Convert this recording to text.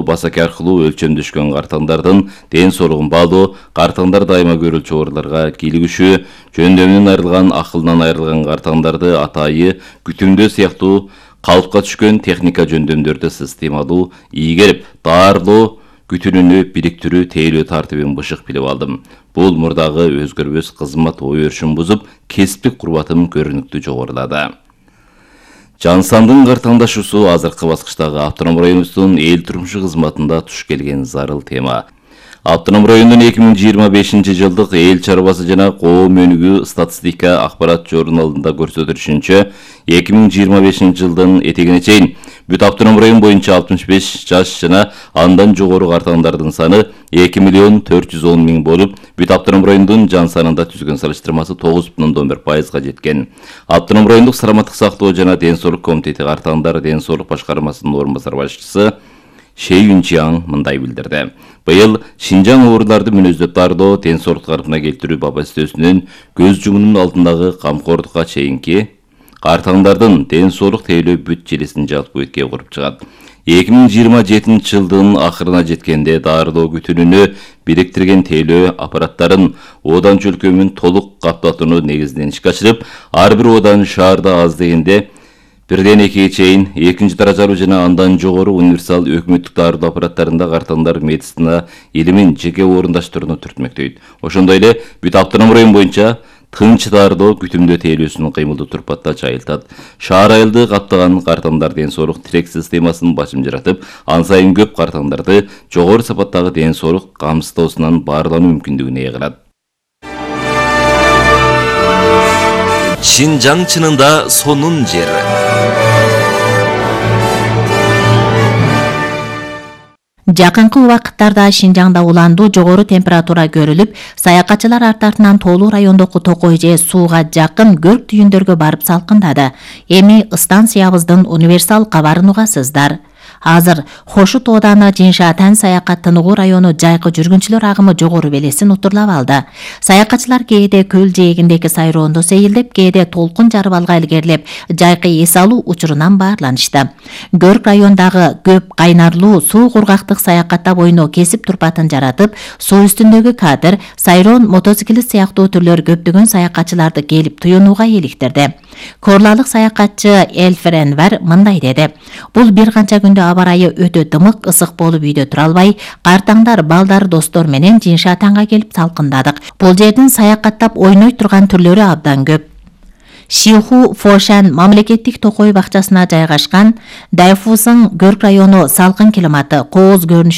басаки аркылуу өлчөмдөшкөн картаңдардын ден соолугун баалоо, картаңдар дайыма көрүлчү ооруларга кийлигишүү, жөндөмүнөн айрылган, акылынан айрылган картаңдарды атайы, күтүмдөө сыяктуу калыпка түшкөн техника жөндөмдөрдү системалуу ийгерип, даарылоо күтүнүүнү бириктирүү, тейлөө тартибин бышык билип алдым. Бул мурдагы өзгөрбөс кызмат ой өрүшүн бузуп, кесиптик курбатым көрүнүктүү жогорулады. Жансандын картаңдашуусу азыркы баскычтагы автоном районубуздун эл турмушу кызматында туш келген зарыл тема. Автоном райондун 2025 жылдык эл чарбасы жана коом өнүгүү статистика акпарат журналында көрсөтүлүшүнчө, 2025 жылдын этегине чейин бүт автоном район боюнча 65 жаш жана андан жогору картаңдардын саны 2.410.000 болуп, бүт автоном райондун жан санында түзгөн салыштырмасы 9,1%га жеткен. Автоном райондук саламаттык сактоо жана ден соолук комитети картаңдар ден соолук башкармасынын орун басар башчысы Шей Юнчиаң мындай билдирди. Быйыл Шинжаң ооруларды мүнөздөп даарылоо, ден соолукту калпына келтирүү баба өстөсүнүн көз жумуунун алдындагы камкордукка чейинки картаңдардын ден соолук тейлөө бүт желесин жалпы өткө куруп чыгат. 2027 жылдын акырына жеткенде даарылоо күтүнүүнү бириктирген тейлөө аппараттарын Одан өлкөмүн толук каптатууну негизинен ишке ашырып, ар бир Одан шаарда аз дегенде 1-2 чейин экинчи даражалуу жана андан жогору универсал өкмөттүк даарылоо аппараттарында картаңдар медицина илимин жеке орундаштырууну түртмөктөйт. Ошондой эле бүт автоном район боюнча тынч даарылоо күтүмдөө тейлөөсүн кыймылдуу турпатта жайылтат. Шаар айылды каптаган картаңдар ден соолук тирек системасын башым жаратып, ан сайын көп картаңдарды жогору сапаттагы ден соолук камсыздоосунан баарлануу мүмкүндүгүн ээ кылат. Шинжаң чынында сонун жер. Жакынкы убакыттарда Шинжаңда уландуу жогору температура көрүлүп, саякатчылар арт-артынан Тоолуу райондогу Токой же сууга жакын көрк түйүндөргө барып салкындады. Эми станциябыздын универсал кабарын угасыздар. Азыр Хошу Тооданы Жиншатан саякаттануу району жайкы жүргүнчүлөр агымы жогору белесин утурлап алды. Саякатчылар кээде көл жээгиндеги сайроондо сейилдеп, кээде толкун жарып алга илгерлеп, жайкы эс алуу учурунан баарланышты. Көрк райондагы көп кайнарлуу суу кургактык саякаттап ойноо кесип турпатын жаратып, суу үстүндөгү катер, сайроон, мотоциклист сыяктуу түрлөр көптөгөн саякатчыларды келип туюнууга иликтирди. Корлалык саякатчы Элфер Энвер мындай деди. Бул бир канча күндө аба ырайы өтө дымык, ысык болуп үйдө тура албай, картаңдар, балдар, достор менен Жиншатанга келип салкындадык. Бул жердин саякаттап ойной турган түрлөрү абдан көп. Шиху Фошан мамлекеттик токой бакчасына жайгашкан Дайфусың Көрк району салкын климаты, кооз көрүнүшү